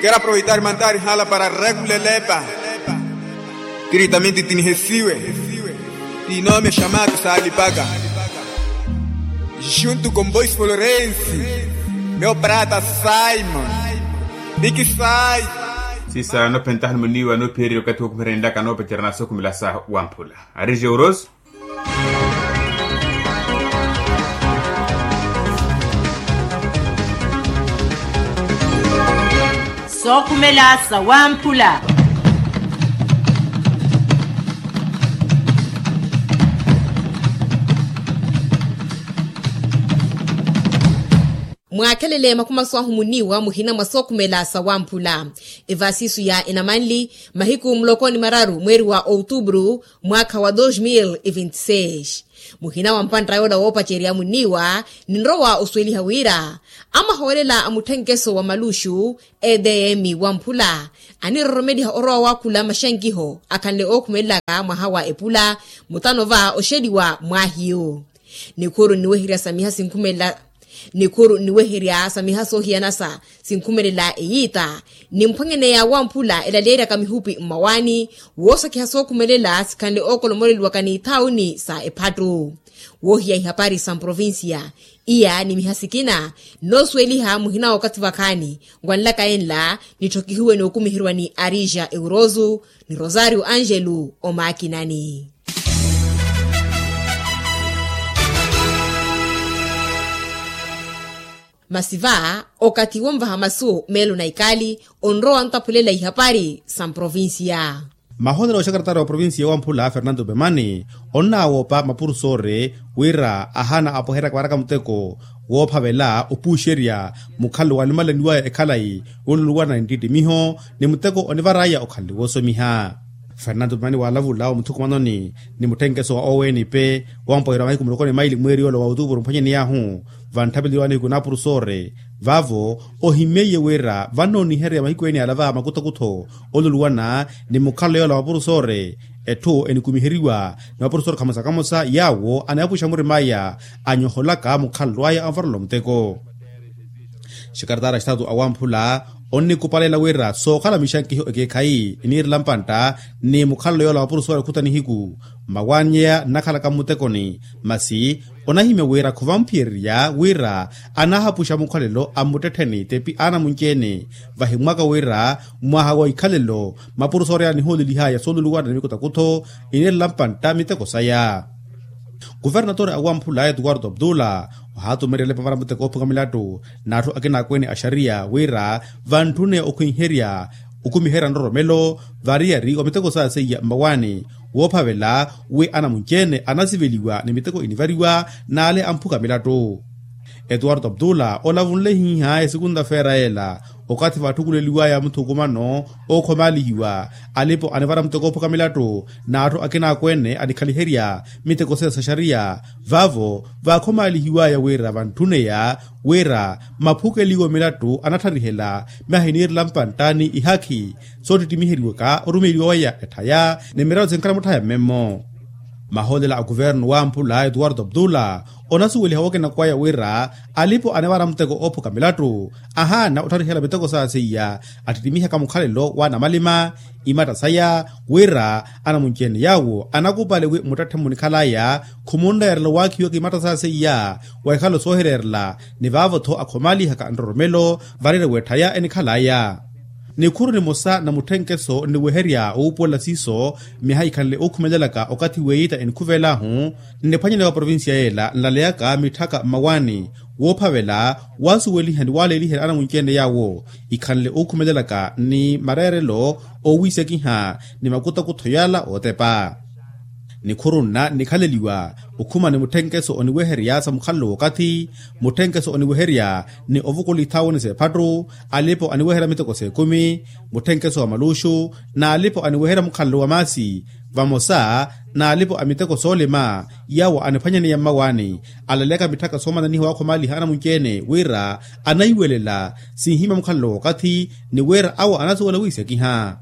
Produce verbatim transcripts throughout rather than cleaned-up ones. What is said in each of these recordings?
Kero aproveitari mantari hala para rekulelepa. Tiritamenti tinihesiwe. Tinome shamatu salipaka. Juntu komboisi florensi. Meo prata simon. Bikisai. Sisa nophentaha ni muniwa nophiyerya okathi wokumiherya nlaka noopacerya nasokhumela sa wamphula. Ari jeuros. Sookhumela sa wamphula. Mwaakhelele makhumaso ahu muniiwa muhina mwa sookhumela sa wamphula. Evasisu ya enamanli mahiku muloko ni mararu mweeri wa outubru mwaakha wa dos mil e vinte seis. Muhina wa mpantta yoola woopacerya muniiwa ninrowa osuweliha wira amahoolela a mutthenkeso wa maluxu edm wamphula aniroromeliha orowa waakhula maxankiho akhanle ookhumelelaka mwaha wa epula mutano va oxeliwa mwaahiyu. Nikhuru nniweherya sa miha sinkhumela nikhuru nniweherya sa miha soohiyanasa sinkhumelela eyiita nimphwanyaneya wamphula elaleeryaka mihupi mmawaani woosakiha sookhumelela sikhanle ookolomoleliwaka n'ithaawuni sa ephattu. Woohiya ihapari sa mprovincia iya ni miha sikina nnoosuweliha muhina wookathi vakhaani. Ngwanlaka enla nitthokihiwe nookumiheriwa ni arija euroso ni rosario angelo omaakinani. Masi va okathi wonvaha masu meelo na ikali onrowa ontaphulela ihapari sa mprovincia. Mahoonelo wa xakaratara wa provincia wamphula fernando pemani onnawoopa mapurusore wira ahaana apweheryaka varaka muteko woophavela opuuxerya mukhalelo walumalaniwaya ekhalayi wooluluwana ni ntittimiho ni muteko onivaraya okhanle woosomiha. Fernando pemani waalavula omuthukumanoni ni mutthenkeso wa owenpe wampweherya wa mahiku muloko ni maili mweeri yoola wa outupuru mphwanyaney'ahu vantthapeleliwani hiku na apurusoore vaavo ohimyeiye wira vannooniherya mahiku ene yala va makuthokutho oluluwana ni mukhalelo yoola wa apurusoore etthu enikumiheriwa ni mapurusoore khamosa khamosa yaawo anayapuxa murim'aya anyoholaka mukhalelo aya anvarela omuteko. Xikaratara xitaatu awamphula onnikupaleela wira sookhala mixankiho ekeekhayi eniirela mpantta ni mukhalelo yoola wa apurusoore khuta nihiku mmawaanyeya nnakhalaka mmutekoni masi onahimya wira khuvamphiyeryerya wira anahapuxa mukhalelo a mmuttettheni tepi aana munci-ene. Vahimwaka wira mwaha wa ikhalelo mapurusoori aya anihoolelihaya sooluluwana ni mikutakutho iniirela mpantta miteko saya. Kuvernatore awamphula etuwarto abdula ohaatumeryela epavara muteko oophuka milattu n'atthu akina akweene a xariya wira vantthune okhwiherya okumiherya nroromelo variyari wa miteko saaseiya mmawaani woophavela wi anamunci-ene anasiveliwa ni miteko inivariwa n'ale amphuka milattu. Etuwarto abdula olavunle hiiha esikunta feera ela okathi vatthukuleliwaya muthukumano ookhomaalihiwa alipo anivara muteko oophuka milattu n'atthu akina akweene anikhaliherya miteko seya sa xariya vaavo vaakhomaalihiwaya wira vantthuneya wira maphukeliwo milattu anattarihela myaahiniirela mpantta ni ihakhi soottittimiheryiwaka orumeeliwa waya etthaya ni miralo sinkhala mutthaya mmemmo. Mahoolela a kuvernu wamphula etuwarto abdula onasuweliha wookinako waya wira alipo anivara muteko oophuka milattu ahaana ottharihela miteko saaseiya attittimihaka mukhalelo w'anamalima imatta saya wira anamunci-ene yaawo anakupale wi muttetthe munikhalaya khumunreerela waakhiwaka imatta saaseiya wa ikhalo soohireerela ni vaavo-tho akhomaalihaka nroromelo variyari w'etthaya enikhalaya. Nikhuru nimosa na mutthenkeso nniweherya owuupuwela siiso myaha ikhanle ookhumelelaka okathi w'eyiita enikhuvel'ahu nniphwanyaneya wa provincia yeela nlaleyaka mitthaka mmawaani woophavela waasuweliha ni waaleeliherya anamunci-ene yaawo ikhanle ookhumelelaka ni mareerelo oowiisekiha ni makutakutho yala ootepa. Nikhuru nna nnikhaleliwa okhuma ni mutthenkeso oniweherya sa mukhalelo w'okathi mutthenkeso oniweherya ni ovukula ithaawuni s'ephattu alipo aniweherya miteko s'ekumi mutthenkeso wa maluxu n'alipo aniweherya mukhalelo wa maasi vamosa n'alipo a miteko soolima yaawo aniphwanyaneya mmawaani alaleyaka mitthaka soomananiha waakhomaaliha anamunci-ene wira anahiwelela sinhimya mukhalelo w'okathi ni wira awo anasuwela wiisekiha.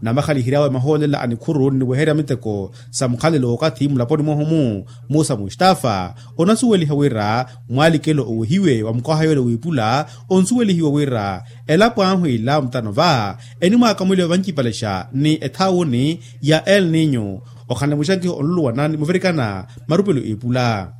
Namakhalihery'awe mahoolela a nikhuru nniweherya miteko sa mukhalelo w'okathi mulaponi mwahu-mu, musa mustafa onasuweliha wira mwalikelo owehiwe wa mukwaha yoole w'ipula, onsuwelihiwa wira elapo ahu ila mutano va enimwaakamweliwa vancipalexa ni ethawuni ya el ninyo, okhanle muxankiho onluluwana ni muvirikana marupelo ipula.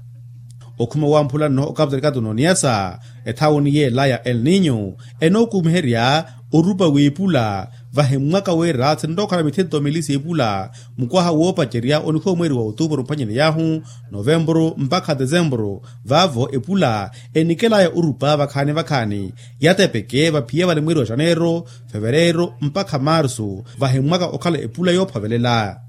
Okhuma wamphula nno okaputarikatu n'oniyasa ethawuni yeela ya el ninyo enookumiherya orupa w'ipula, vahimmwaka wira sinrookhala mithento mili s'ipula mukwaha woopacerya onihoomweriwa otuupuru mphwanyeni yaahu novempuru mpakha desempuru. Vaavo epula enikelaya orupa vakhaani vakhaani yatepeke vaphiya valimweriwa xaneero fevereero mpakha marsu, vahimmwaka okhala epula yoophovelela.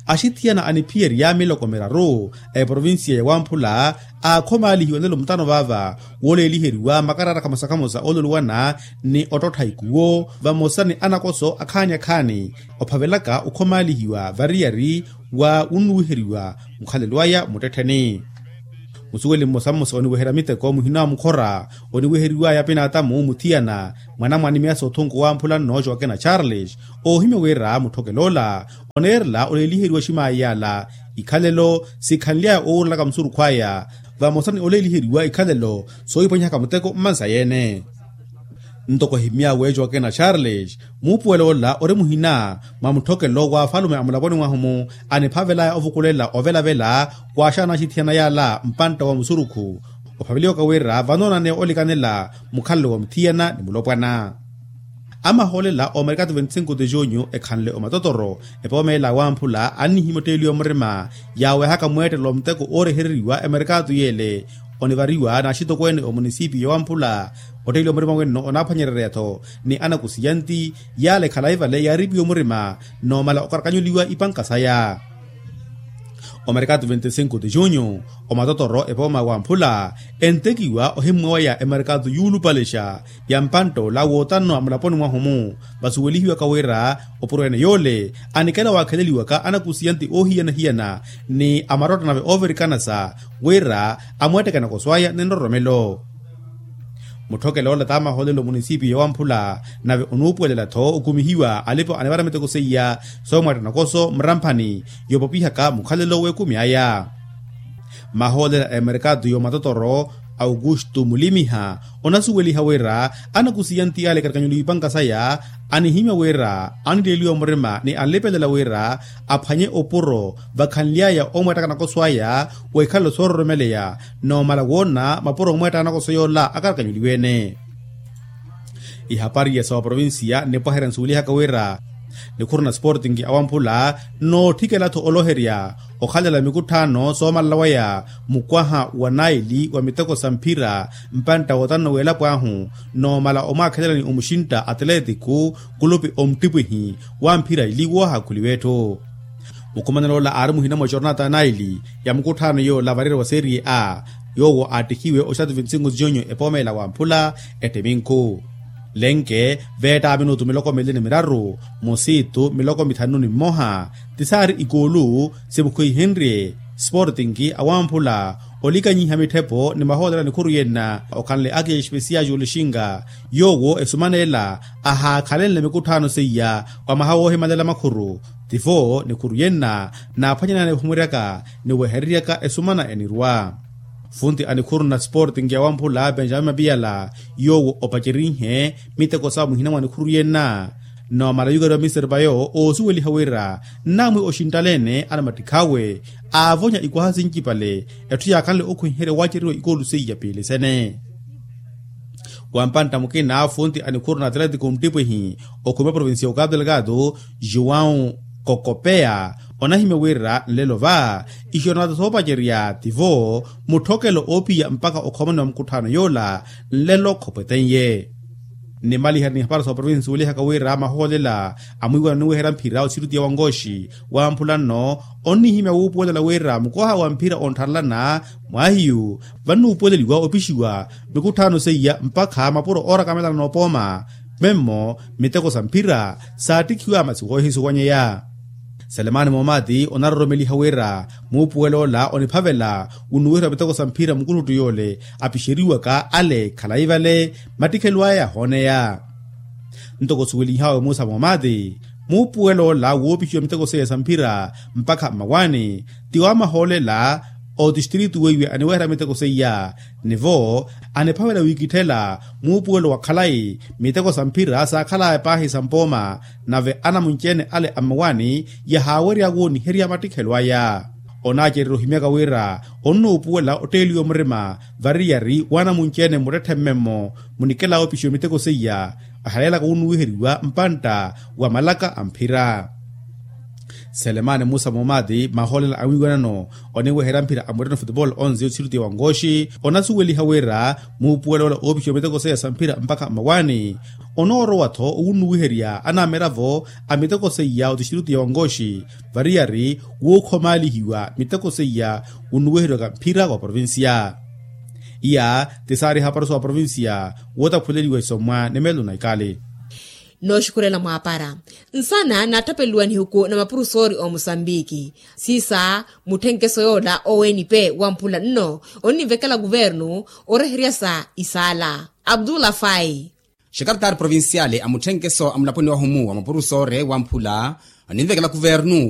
Axithiyana aniphiyerya miloko miraru a eprovincia ya wamphula aakhomaalihiwa nelo mutano vaava wooleeliheriwa makaraara khamosa khamosa oololuwana ni ottottha ikuwo vamosa ni anakoso akhaani akhaani ophavelaka okhomaalihiwa variyari wa wunnuwiheriwa mukhalelo aya muttettheni. Musuweli mmosa mmosa oniweherya miteko muhina wa mukhora oniweheriwaya pinaatamu muthiyana mwanamwani miyasa othunku wamphula nno joakena charles oohimya wira mutthokel'ola oneerela oleeliheriwa ximaayi yala ikhalelo sikhanly'aya oowurelaka musurukhu aya vamosa ni oleeliheriwa ikhalelo soohipwanihaka muteko mmansa yeene. Ntoko ehimy'awe joakena charles muupuwel'ola ori muhina mwa mutthokelo w'afalume a mulaponi mwahu-mu aniphavel'aya ovukulela ovelavela waaxaana axithiyana yala mpantta wa musurukhu ophaveliwaka wira vanoonane olikanela mukhalelo wa muthiyana ni mulopwana. Amahoolela omerikatu veinticinco de junho ekhanle omatotoro epooma ela wamphula annihimya otteeliwa murima yaawehaka mweettelo wa muteko oorehereriwa emerikatu yeele onivariwa n'axitokweene omunisipiyo wamphula. Otteeliwa murima wenno onaaphwanyererya-tho ni anakusiyanti yaala ekhala ivale yaaripiwa murima noomala okarakanyuliwa ipanka saya. Omerikatu veinticinco de junho omatotoro epooma wamphula entekiwa ohimmwawaya emerikatu yuulupalexa ya mpantt'ola wootanno a mulaponi mwahu-mu vasuwelihiwaka wira opuro ene yoole anikela waakheleliwaka anakusiyanti oohiyana-hiyana ni amarotto nave oovirikanasa wira amweetteke anakoso aya ni nroromelo. Mutthokel'ola t'amahoolelo munisipiyo wamphula nave onuupuwelela-tho okumihiwa alipa anivara miteko seiya soomweetta nakoso muramphani yoopopihaka mukhalelo w'ekumi aya. Mahoolela a emerikatu y'omatotoro aukustu mulimiha onasuweliha wira anakusiyanti ale katikanyuliwa ipanka saya anihimya wira anileeliwa murima ni anlipelela wira aphwanye opuro vakhanly'aya omweettaka nakoso aya w'ikhalelo soororomeleya noomala woona mapuro omweettaka nakoso yoola akarakanyuliwe-ene. Ihapari ya sawa provincia nnipwaherya nsuwelihaka wira nikhuru na sporting awamphula nnootthikela-tho oloherya okhalela mikutthaano soomalala waya mukwaha wa naili wa miteko sa mphira mpantta wootanno w'elapo ahu noomala omwaakhelelani omuxintta atleetiku kulupi omttipwihi wa mphira ili woohaakhuliwa etthu. Mukhumanelo ola aari muhina mwa jornata naili ya mukutthaano yoola variyari wa serie a yoowo aattihiwe oxatu vinti-sinku nziyonyo epoomela wamphula ettiminku lenke veetta minutu miloko mili ni miraru musiitu miloko mithanu ni mmoha ti saari ikoolu simukhwihenrye sportinki awamphula olikanyiha mitthepo ni mahoolelo a nikhuru yenna okhanle akiya espesiya julixinga yoowo esumaneela ahaakhalenle mikutthaano seiya wa mwaha woohimalela makhuru tivo nikhuru yenna naaphwanyanani ephumuryaka ni wehereryaka esumana enirwa. Funti a nikhuru na sportinki awamphula benjamin mapiyala yoowo opacerinhe miteko sawa muhina mwa nikhuru yenna noomala yukariwa mister payo oosuweliha wira nnaamwi oxinttaleene anamattikhawe aavonya ikwaha sincipale etthu yaakhanle okhwiherya waaceriwa ikoolu seiya piili sene. Wa mpantta mukina funti a nikhuru na atleetico mttipwihi okhuma provincia ya okapu delgado joão kokopeya onahimya wira nlelo va ixoronata soopacerya tivo mutthokelo oopiya mpakha okhomaniwa mukutthaano yoola nlelo khopwetenye. Nnimaliherya ni hapari sa oprovinsi woolihaka wira mahoolela amwiiwana oniweherya mphira osirutiya wa nkooxi wamphula nno onnihimya wuupuwelela wira mukwaha wa mphira onttharelana mwaahiyu vannuupuweleliwa opixiwa mikutthaano seiya mpakha mapuro oorakamelana noopooma memmo miteko sa mphira saattikhiwa masi woohisuwanyeya. Selemani momati onaroromeliha wira muupuwel'ola oniphavela wunnuwiheriwa miteko sa mphira mukuttuttu yoole apixeriwaka ale khalayi vale mattikhelo aya yahooneya. Ntoko suwelihawe musa momati, muupuwelo ola woopixiwa miteko seiya sa mphira mpakha mmawaani ti wamahoolela otistritu weiwe aniweherya miteko seiya. Nivo aniphavela wiikitthela muupuwelo wa khalayi miteko sa mphira saakhalaya paahi sa mpooma, nave anamunci-ene ale a mmawaani yahaawerya wooniherya mattikhelo aya. Onaacererya ohimyaka wira onnuupuwela otteeliwa murima variyari w'anamunci-ene mmuttetthe mmemmo munikela oopixiwa miteko seiya ahaleelaka wunnuwiheriwa mpantta wa malaka a mphira. Selemani musa momati mahoolela a mwiiwanano oniweherya mphira a mureno futebol onze otixiruti ya wankooxi onasuweliha wira muupuwelo ola oopixiwa miteko seiya sa mphira mpakha mmawaani onoorowa-tho owunnuwiherya anamiravo a miteko seiya otixiruti ya wankooxi variyari wookhomaalihiwa miteko seiya wunnuwiheriwaka mphira wa provincia. Iya ti saari haparuso wa provincia wootaphuleliwa isomwa ni meelo na ikali. Nooxukhurela mwaapara nsana naatthapeliwa nihuku na mapurusoori omusambiki siisa mutthenkeso yoola oweenipe wamphula nno onninvekela kuvernu oreheryasa isaala abdullah fai. Xekartaari provinciale a mutthenkeso a mulaponi wahumu wa mapurusoori wamphula onninvekela kuvernu.